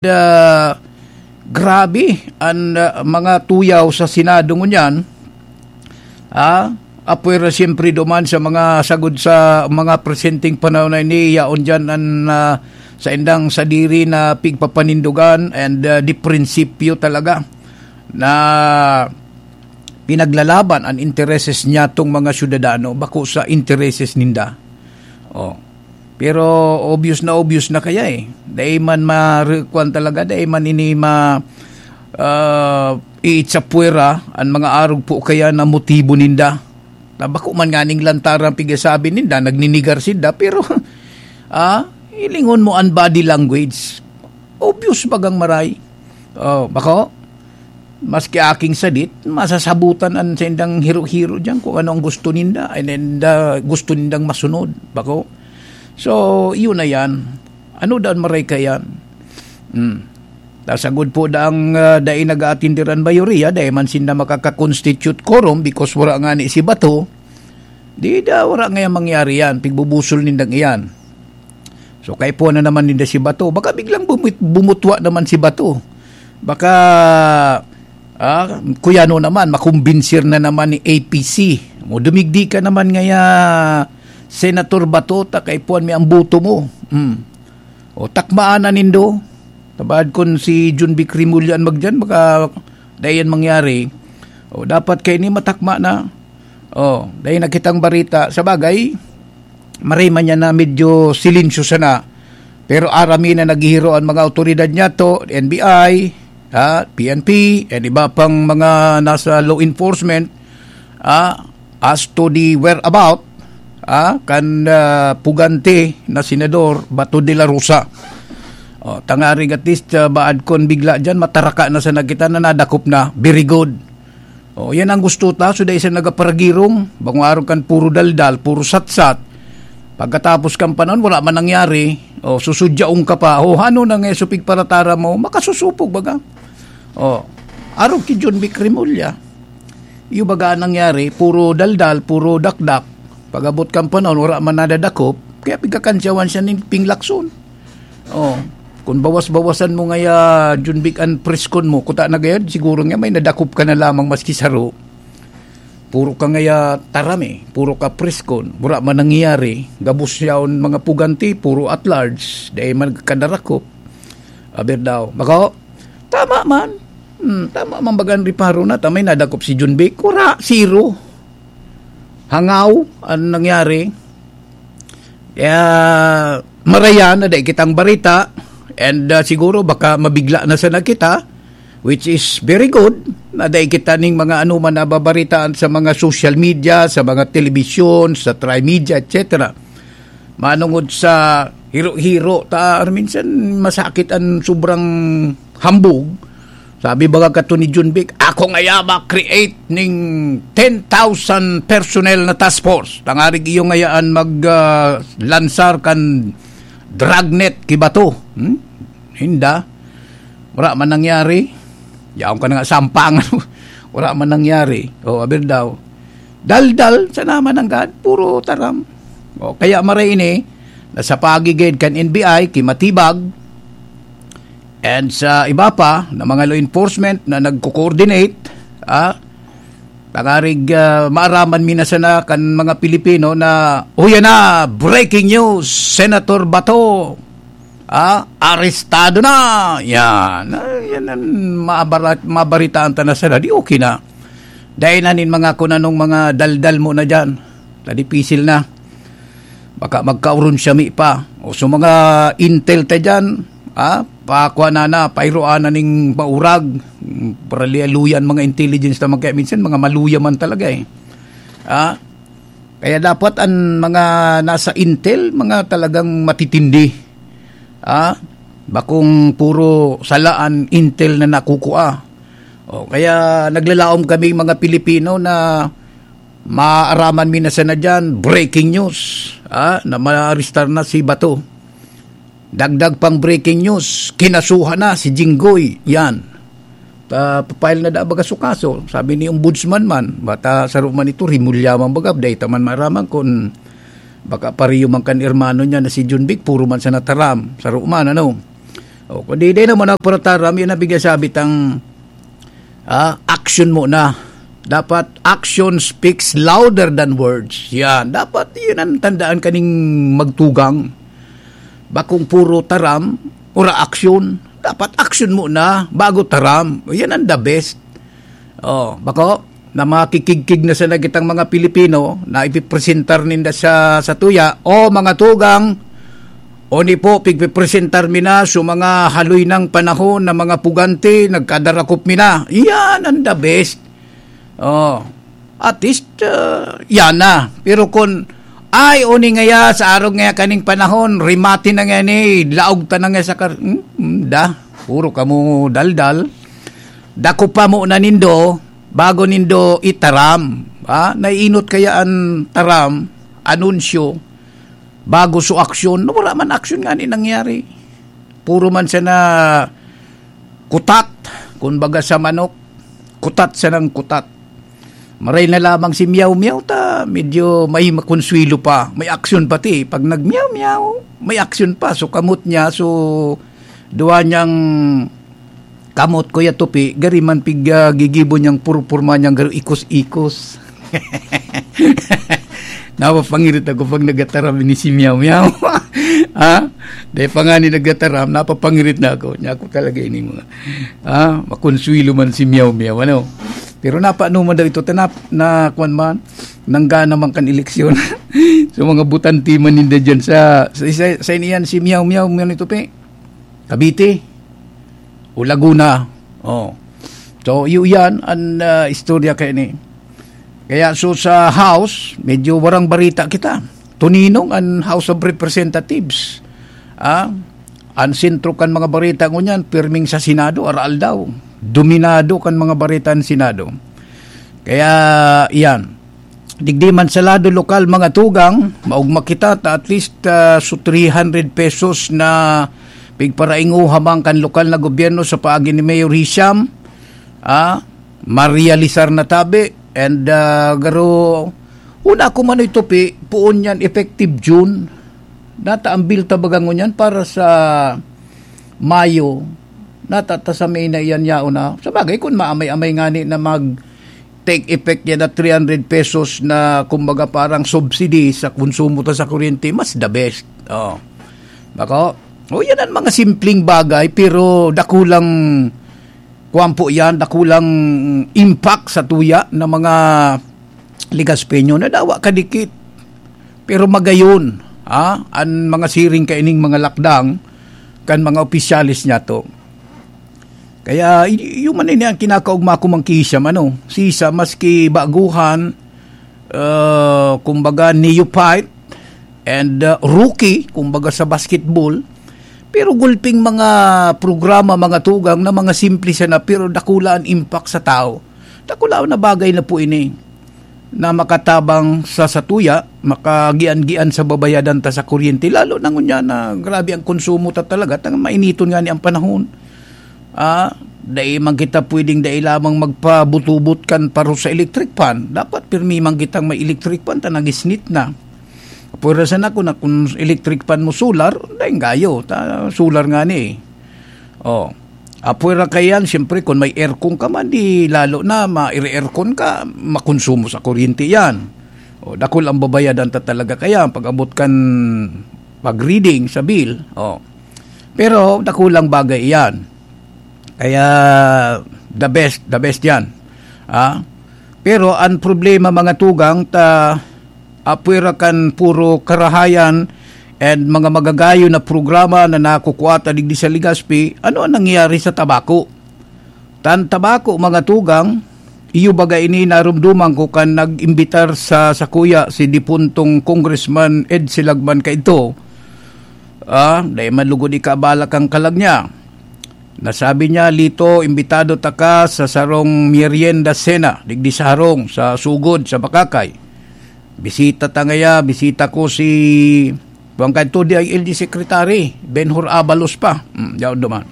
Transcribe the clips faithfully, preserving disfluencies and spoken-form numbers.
ah, grabe an, ah, mga tuyaw sa Senado ngunyan. Ah, apwera siyempre duman sa mga sagod sa mga presenteng panahon na ini, yaon diyan an, ah, saindang sadiri na pigpapanindogan and, ah, di prinsipyo talaga na pinaglalaban an intereses niya tong mga syudadano, bako sa intereses ninda. Oh. Pero obvious na obvious na kaya eh. Dai man ma-, kuwan talaga, dai man ini ma-, ah, iitsapwera an mga arog po kaya na motibo ninda. Na bako man nganing lantaran pigasabi ninda, nagninigar sinda, pero, ah, hilingon mo an body language. Obvious bagang maray. Oh, bako? Maski aking sadit, masasabutan an saindang hiro-hiro diyan kung ano ang gusto ninda, and, and, ah, gusto nindang masunod. Bako? So, yun na yan. Ano daan maray ka yan? Hmm. Tasagod po daang, ah, dai nag-aatindir an mayoriya, dai man sinda makaka-constitute quorum because wala nga ni si Bato. Di da, wala nga yan mangyari yan. Pigbubusol nindang iyan. So, kaipuhan na naman ninda si Bato. Baka biglang bumit-, bumutwa naman si Bato. Baka, ah, kuyano naman, makumbinsir na naman ni A P C. O, dumigdi ka naman ngaya, Senator Bato, ta kaipuhan mi ang boto mo. Hmm. O, takmaan na nindo. Tabaad kun si John Vic Remulla an magdiyan, baka dai yan mangyari. O, dapat kaini matakma na. O, dai na kitang barita. Sa bagay, maray man yan na medyo silensyo sana. Pero aram mi na naghihiro an mga awtoridad niyato, N B I, ha, P N P, and iba pang mga nasa law enforcement, ha, as to the whereabout, ha, kan, ah, pugante na Senador Bato de la Rosa. O, tangarig at least, ah, baad kon bigla diyan, mataraka na sana kita na nadakop na. Very good. O, yan ang gusto ta. So, dai sa nagaparagirong, bangong araw kan puro daldal, puro satsat. Pagkatapos kan panahon, wala man nangyari. O, susudyaon ka pa. O, ano na nga, supig paratara mo, makasusupog baga. O, arog ki John Vic Remulla. Iyo baga ang nangyari, puro daldal, puro dakdak. Pag-abot kan panahon, wala man nadadakop, kaya pigkakansyawan siya nin pinglakson. Oh, kung bawas-bawasan mo ngaya, John Vic, an preskon mo, kuta na gayod, siguro nga may nadakop ka na lamang maski saro. Puro ka ngaya taram eh, puro ka preskon, wala man nangyayari, gabos yaon mga puganti, puro at large, dai man kadarakop. Aber daw, bako, tama man. Hmm, tama man baga an reparo na, tamay nadakop si John Vic, wala, zero. Hangaw an nangyari. Kaya, marayan na dai kitang barita, and, ah, siguro baka mabigla na sana kita, which is very good, na dai kita ning mga ano man nababaritaan sa mga social media, sa mga telebisyon, sa Trimedia, et cetera. Manungod sa hiro-hiro, ta, minsan masakit an sobrang hambog. Sabi baga kato ni John Vic, "Ako ngaya ma-create ning ten thousand personnel na task force. Tangarig iyo ngayaan mag, ah, lansar kan dragnet ki Bato." Hmm? Hinda. Wala man nangyari. Yaon ka na nga sampangan. Wala man nangyari. O, aber daw. Daldal, sana man nanggad, puro taram. O, kaya maray ini, nasa pagigid kan N B I, ki Matibag, and sa iba pa na mga law enforcement na nagko-coordinate, ah, tangarig, ah, maaraman mi na sana kan mga Pilipino na, "O, yan na, breaking news, Senator Bato, ah, arestado na." Yan, ah, yan ang maabara-, mabaritaan ta na sana. Di okay na. Dahil na nin mga kung anong mga daldal mo na dyan. Tadipisil na. Baka magkaurunsyami pa. O sa mga intel ta dyan, ha? Pakuha na na, pairoan na ning maurag. Paralialuyan mga intelligence naman kaya minsan, mga maluya man talaga eh. Ha? Kaya dapat ang mga nasa intel, mga talagang matitindi. Ha? Bakong puro salaan intel na nakukua. O, kaya naglalaom kami mga Pilipino na maaraman mi na sana dyan, breaking news, ah, na maarestar na si Bato. Dagdag pang breaking news, kinasuhan na si Jinggoy. Yan. Pa-, pa-file na da baga su kaso. Sabi ni Ombudsman man, bata saro man ito, rimulya man baga, dahil taman maraman kung baka pariyo man kan hermano niya na si John Vic, puro man sa nataram, saro man, ano. O, kundi di naman ako para taram, yun ang bigay sabi tang, ah, action mo na. Dapat action speaks louder than words. Yan. Dapat yun ang tandaan kaning magtugang. Bakong puro taram, ora action. Dapat action mo na bago taram. Yan ang the best. Oh, bako, na makikigkig na sana kitang mga Pilipino na ipipresentar ninda sa, sa tuya, "O mga tugang, oni po, pigpipresentar mi na so mga haloy ng panahon na mga puganti, nagkadarakop mi na." Yan ang the best. Oh, at least, uh, yan na. Pero kung, "Ay, oni ngaya, sa arog ngaya kaning panahon, rimati na nga ni, laog ta na nga sa kar-," hmm, hmm, da, puro kamo daldal. Dako pa mo na nindo, bago nindo itaram. Ha? Naiinot kaya an taram, anunsyo, bago so aksyon? Wala man aksyon nga ni nangyari. Puro man siya na kutat, kun baga sa manok, kutat siya ng kutat. Maray na lamang si Meow Meow ta, medyo may makonsuelo pa, may aksyon pati. Pag nag-meow meow, may aksyon pa. So, kamot niya, so, duwa niyang kamot, Kuya Tupi, gari man pig, ah, gigibo niyang purpurma niyang garo ikos-ikos. Napapangirit ako pag nagataram ini si Meow Meow. Ha? Dahil pa nga ni nagataram, napapangirit na ako. Niya ako talaga ini mga, ha? Makonsuelo man si Meow Meow, ano? Pero napaano man daw ito, tanap, na kwan man, nangga naman kan eleksyon. So, mga butante man ninda dyan sa, sa, sa, sa iniyan si Meow Meow, Meow ni Tupi. Cavite o Laguna. Oh. So, yu-, yan an, ah, istorya kaya ni. Kaya so sa House, medyo warang barita kita. Tuninong an House of Representatives. Ah, an sentro kan mga barita ngunyan, pirming sa Senado, aral daw. Dominado kan mga barita ang Senado. Kaya, yan. Digdi man sa lado lokal, mga tugang, maugma kita ta at least, ah, so three hundred pesos na pigparaingoha man kan lokal na gobyerno sa paagi ni Mayor Hisham, ah, marealisar na tabi, and, ah, garo, una ko man ito, Pi, poon yan effective June. Nata ang bill ta baga ngunyan para sa Mayo, nata ta sa May na iyan yaon na. Sa bagay, kung maamay-amay ngani na mag take effect yan na three hundred pesos na, kumbaga, parang subsidy sa konsumo ta sa kuryente, mas the best. Oh. Bako? O, yan ang mga simpleng bagay, pero dakulang, kuwan po yan, dakulang impact sa tuya na mga Ligaspeño na dawa kadikit. Pero magayon, ha? An mga siring kaining mga lakdang kan mga opisyales niyato. Kaya, y-, yun man ini ang kinakaugma ko, Mang Kisha, ano? Sisa, maski baguhan, ah, kumbaga, neophyte and, ah, rookie, kumbaga, sa basketball, pero gulping mga programa, mga tugang na mga simple sana, pero dakula an impact sa tao. Dakula na bagay na po ini na makatabang sa satuya, makagian-gian sa babayadan ta sa kuryente, lalo na ngunyan na grabe ang konsumo ta talaga, tang mainiton nga ni ang panahon. Ah, dai man kita pwedeng dai lamang magpabutubot kan paro sa electric fan. Dapat pirmi man kitang may electric fan ta nagisnit na. Pwera sana kung, kung electric fan mo solar, dai gayo, ta solar nga ni. Oh. Apwera kaiyan, siyempre, kung may aircon ka man, di lalo na maire-aircon ka, makonsumo sa kuryente yan. O, dakul ang babayadan ta talaga kaya pag-abot kan pag-reading sa bill. O. Pero dakulang bagay iyan. Kaya, the best, the best yan. Ah? Pero ang problema, mga tugang, ta apwera kan puro karahayan and mga magagayon na programa na nakukua ta digdi sa Legazpi, ano ang nangyayari sa tabako? Tan tabako, mga tugang, iyo baga ini narumduman ko kan nag-imbitar sa sakuya si dipuntong Congressman Ed Silagman kaidto. Ah, dai man lugod ikaabala kan kalag niya. Nasabi niya, "Lito, imbitado taka sa sarong merienda sena, digdi sa harong, sa sugod, sa Bakakay." Bisita ta ngaya, bisita ko si, kuwan kadto, D I L G Secretary, Benhur Abalos pa. Hmm, yaon duman.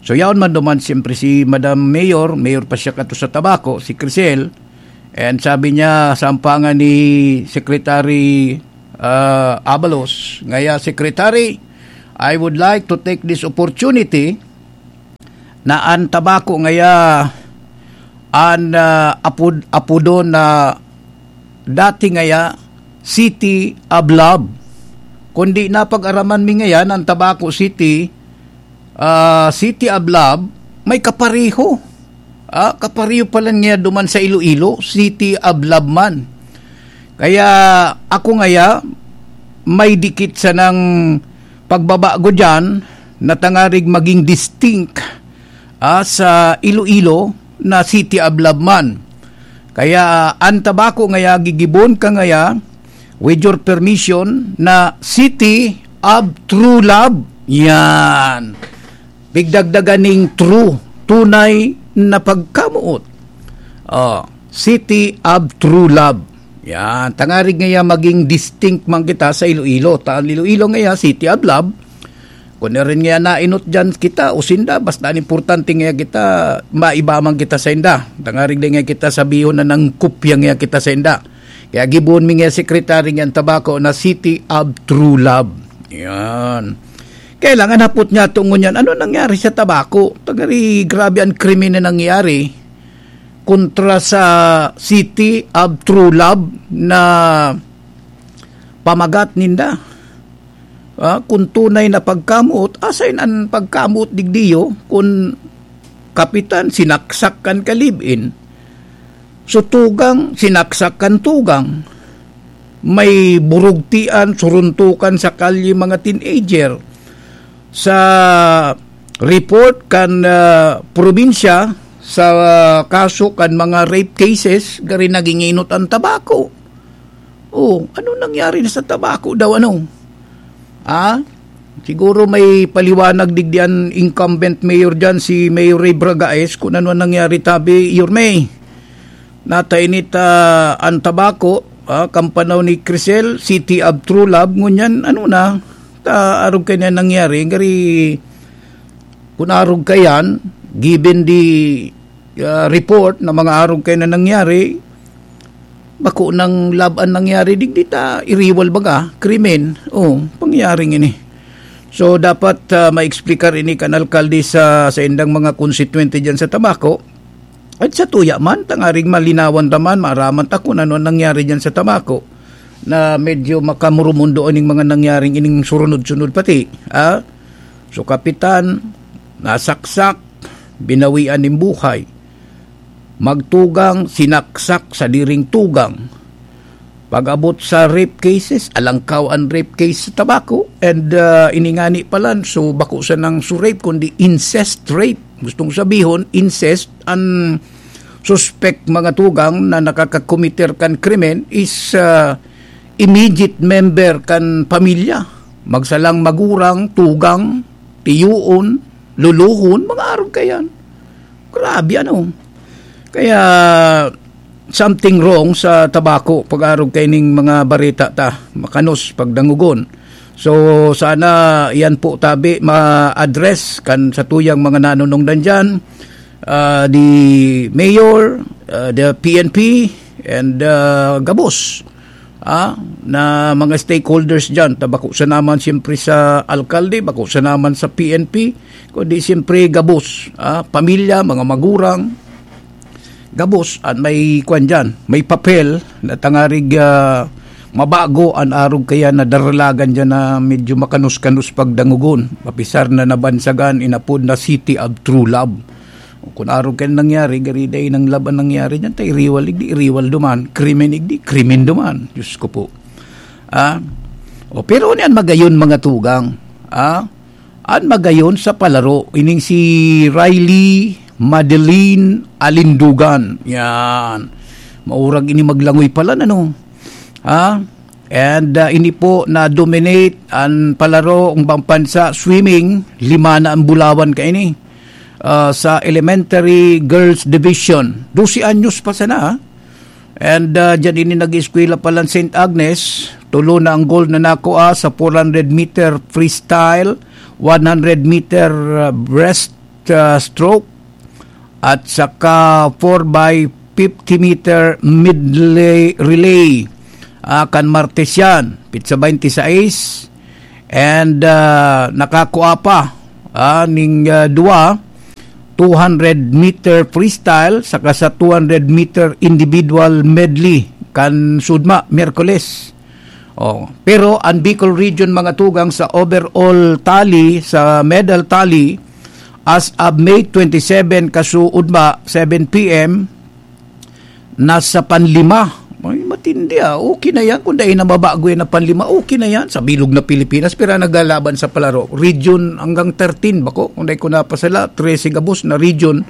So, yaon man duman, siyempre, si Madam Mayor, Mayor pa siya kadto sa Tabaco, si Crisel. And sabi niya, sampangan ni Secretary, ah, Abalos, ngaya, "Secretary, I would like to take this opportunity na an Tabaco ngaya, an, ah, apod-, apodon na dati ngaya City of Love. Kundi napag-araman mi ngayan an Tabaco City, ah, City of Love, may kapareho. Ah, kapareho pala niya duman sa Iloilo, City of Love man. Kaya ako ngaya, may dikit sanang pagbabago diyan na tangarig maging distinct, ah, sa Iloilo na City of Love man. Kaya an Tabaco ngaya, gigibon ka ngaya, with your permission, na City of True Love. Yan. Pigdagdagan ning true, tunay na pagkamoot. Oh, City of True Love. Yan, tangarig ngaya maging distinct man kita sa Iloilo. Ta an Iloilo ngaya, City of Love. Kung na rin ngaya nainot dyan kita o sinda, basta an importante ngaya kita, maiba man kita sa inda. Tangarig di ngaya kita sabihon na nangkopya ngaya kita sa inda. Kaya gibohon mi ngaya, Secretary, ngaya an Tabaco na City of True Love. Yan. Kaya lang, an hapot niya to ngunyan, ano nangyari sa Tabaco? Tangarig grabe an krimen na nangyari kontra sa City of True Love na pamagat ninda. Ah, kung tunay na pagkamoot, asain an pagkamoot digdiyo kun kapitan sinaksak kan ka-live-in? So, tugang, sinaksak kan tugang. May burugtian, suruntukan sa kalye mga teenager. Sa report kan, ah, probinsya, sa, ah, kaso kan mga rape cases, gari naging inot an Tabaco. Oh, ano nangyari na sa Tabaco daw, ano? Ah? Siguro may paliwanag digdi an incumbent mayor diyan, si Mayor Ray Bragaes, kung ano ang nangyari tabi, Yorme. Natainit, ah, an Tabaco, ah, kampanaw ni Crisel, City of True Love, ngunyan, ano na, ta, arog kaya na nangyari, gari, kung arog kayan, given the, ah, report na mga arog kaya na nangyari, bako nang lab an nangyari, digdi ta iriwal baga, krimen. Oh, pangyaring ini. So, dapat, ah, maeksplikar ini kan alkalde sa, sa indang mga konstituyente diyan sa Tabaco. At sa tuya man, tangaring malinawan ta man, maaraman ta kung ano ang nangyari diyan sa Tabaco, na medyo makamurumundo ining mga nangyaring ining surunod-sunod pati, ah? So, kapitan, nasaksak, binawian nin buhay. Magtugang, sinaksak, sadiring tugang. Pag-abot sa rape cases, alangkaw an rape case sa Tabaco, and, ah, ini ngani palan, so bako sanang so rape, kundi incest rape. Gustong sabihon, incest, an suspek, mga tugang, na nakakakomiter kan krimen is, ah, immediate member kan pamilya. Magsalang magurang, tugang, tiyoon, luluhon, mga arog kayan. Grabe, ano? Kaya, something wrong sa Tabaco, pag-arog kaining mga bareta ta, makanos, pagdangogon. So, sana yan po tabi ma-address kan sa tuyang mga nanunungdan dyan, ah, the mayor, ah, the P N P, and, ah, gabos, ah, na mga stakeholders dyan. Ta bako sa naman siyempre sa alkalde, bako sa naman sa P N P, kundi siyempre gabos, ah, pamilya, mga magurang, gabos, at may kwan dyan, may papel na tangarig, ah, mabago an arog kaya na daralagan dyan na medyo makanus-kanus pagdangogon. Mapisar na nabansagan, inapod na City of True Love. Kung arog kaya nangyari, gari dai nang love an nangyari dyan, ta iriwal, igdi, iriwal duman, krimen, igdi, krimen duman. Diyos ko po. Ah? O, pero niyan magayon, mga tugang. Ah? An magayon sa palaro, ining si Riley Madeline Alindugan. Yan. Maurag ini maglangoy pala, ano? Ha? And, ah, ini po na-dominate an palaro, ang pampansa, swimming, lima na ang bulawan kaini. Ah, sa Elementary Girls Division. Dose anyos pa sana, ha? And, ah, dyan ini nag-eskwela palan Saint Agnes. Tulo na ang gold na nakuha sa four hundred meter freestyle, one hundred meter, ah, breast, ah, stroke, at saka four by fifty meter medley relay. Ah, kan Martes yan, pitsa twenty-six. And, ah, nakakua pa, ah, ning, ah, duwa, two hundred meter freestyle, saka sa two hundred meter individual medley, kan sudma, Miyerkules. Oh, pero ang Bicol Region, mga tugang, sa overall tally, sa medal tally, as of May twenty-seven, kasuodma, seven P M, nasa panlima. Ay, matindi, ah. Okay na yan. Kung dai na mabago yan na panlima, okay na yan. Sa bilog na Pilipinas, pero naglalaban sa palaro. Region hanggang thirteen, bako. Kung dai ko napasala, trese gabos na region.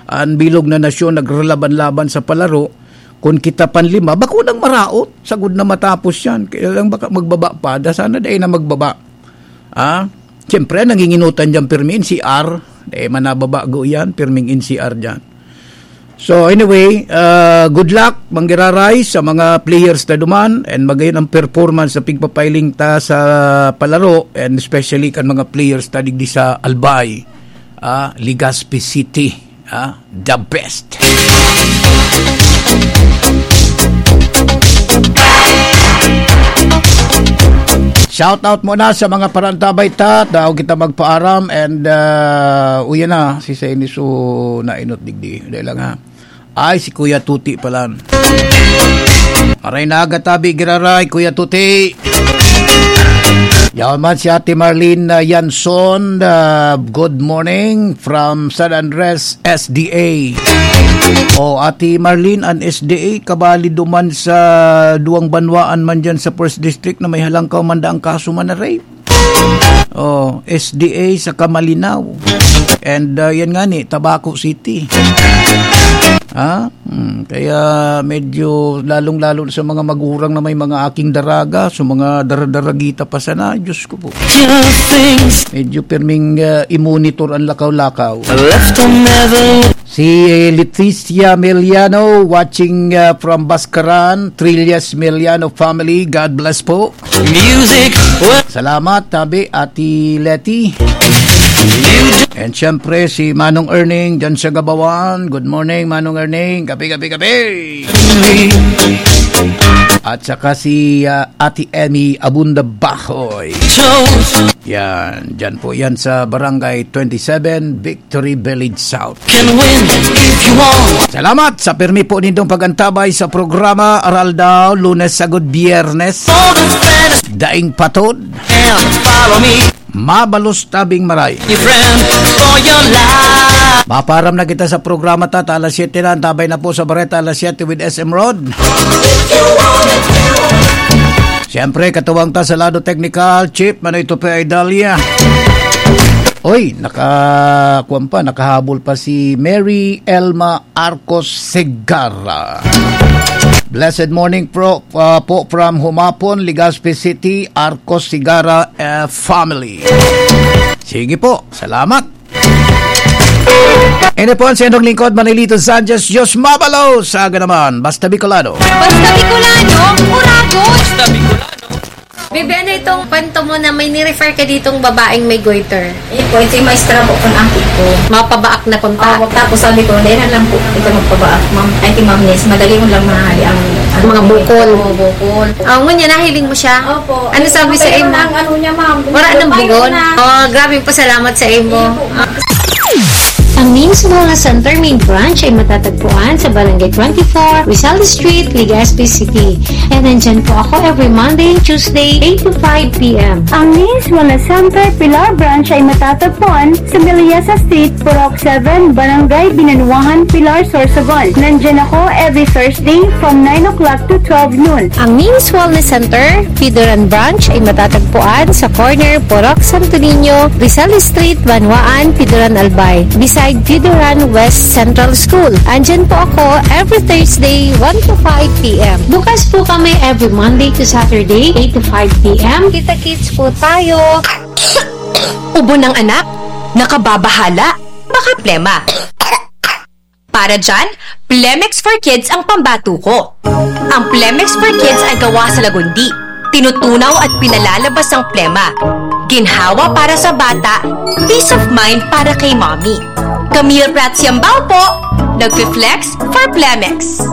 Ang bilog na nasyon naglalaban-laban sa palaro. Kung kita panlima, bako nang maraot. Sagod na matapos yan. Kaya lang baka magbaba pa. Da sana dai na magbaba. Ah? Siyempre, nanginginutan dyan pirmi in C R. Eh, manababago yan, pirming in C R dyan. So, anyway, ah, good luck, Manggiraray, sa mga players na duman, and magayon ang performance sa pigpapailing ta sa palaro, and especially kan mga players ta digdi sa Albay, ah, Legazpi City, ah, the best. Shout out muna sa mga parantabay ta, daw kita magpaaram, and, ah, uyan na, si Senisu nainot digdi. Dahil lang ha. Ay, si Kuya Tuti pala. Aray na aga tabi, giraray, Kuya Tuti. Yaman si Ate Marlene, ah, Yanson, ah, good morning from San Andres, S D A. O, Ate Marlene, an S D A, kabali duman sa duwang banwaan man dyan sa First District na may halangkaw man daang kaso man na rape. Oh, S D A sa Kamalinaw. And, uh, yan nga ni, Tabaco City. Ha? Hmm, kaya medyo lalong-lalo sa mga magurang na may mga aking daraga, sa mga daradaragita pa sana, Diyos ko po. Medyo pirming, uh, i-monitor ang lakaw-lakaw. Si Leticia Meliano watching, uh, from Bascaran, Trillas Meliano family. God bless po. Salamat, tabi, Ate Leti. And syempre, si Manong Erning, dyan sa Gabawan. Good morning, Manong Erning. Kape, kape, kape. At saka si, uh, Ate Emmy Abunda Bahoy. Yan, dyan po yan sa Barangay twenty-seven, Victory Village South. Salamat sa pirmi po nindong pag-antabay sa programa Aral Daw, Lunes sagod Biyernes. Daing patod. Mabalos tabing maray. Maparam na kita sa programa ta, ta alas siyete na, antabay na po sa Bareta, alas siyete with S M Rod. Siyempre, katuwang ta sa lado technical, Chief Manoy Tupe Idalia. Oy, naka-, kuwan pa, nakahabol pa si Mary Elma Arcos Segarra. Blessed morning, pro, uh, po from Humapon, Legazpi City, Arcos Segarra, uh, family. Sige po, salamat. Ini po ang sendong lingkod, Manilito Sanchez. Diyos mabalo sa aga naman. Basta Bicolano. Basta Bicolano, Uragon. Basta Bicolano. Bibi, ano itong panto mo na may ni-refer ka ditong babaeng may goiter? Eh po, ito yung maestra po kung aki ko. Mapabaak na punta? Oo, tapos sabi ko, "Dahil na lang po, ito magpabaak, ma'am." Ay, ti Ma'am Ness, madali mo lang mahali ang, ano, Mga bukol. Oo, bukol. Ah, ngunyan, nahiling mo siya? Opo. Ano sabi sa imo? Ang ano niya, ma'am. Wala nang bugon? Oh, grabe po, salamat sa imo. Opo, ma'am. Ang Names Wellness Center main branch ay matatagpuan sa Barangay twenty-four, Rizal Street, Legazpi City. And nandyan po ako every Monday and Tuesday, eight to five p.m. Ang Names Wellness Center Pilar Branch ay matatagpuan sa Miliasa Street, Purok seven, Barangay Binanuahan, Pilar, Sorsogon. Nandyan ako every Thursday from nine o'clock to twelve noon. Ang Names Wellness Center Pidoran Branch ay matatagpuan sa corner Purok Santo Niño, Rizal Street, Banwaan, Pidoran, Albay, beside Pidoran West Central School. Andyan po ako every Thursday, one to five p.m. Bukas po kami every Monday to Saturday, eight to five p.m. Kita-kits po tayo. Ubo ng anak? Nakababahala? Baka plema. Para dyan, Plemex for Kids ang pambato ko. Ang Plemex for Kids ay gawa sa lagundi. Tinutunaw at pinalalabas ang plema. Ginhawa para sa bata, peace of mind para kay mommy. Camille Prats Yambao po, nagfi-flex for Plemex.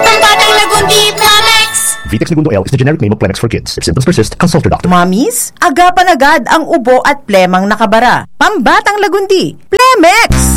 Pambatang lagundi, Plemex! Pitex Negundo L is the generic name of Plemex for kids. If symptoms persist, consult your doctor. Mommies, agapan agad ang ubo at plemang nakabara. Pambatang lagundi, Plemex!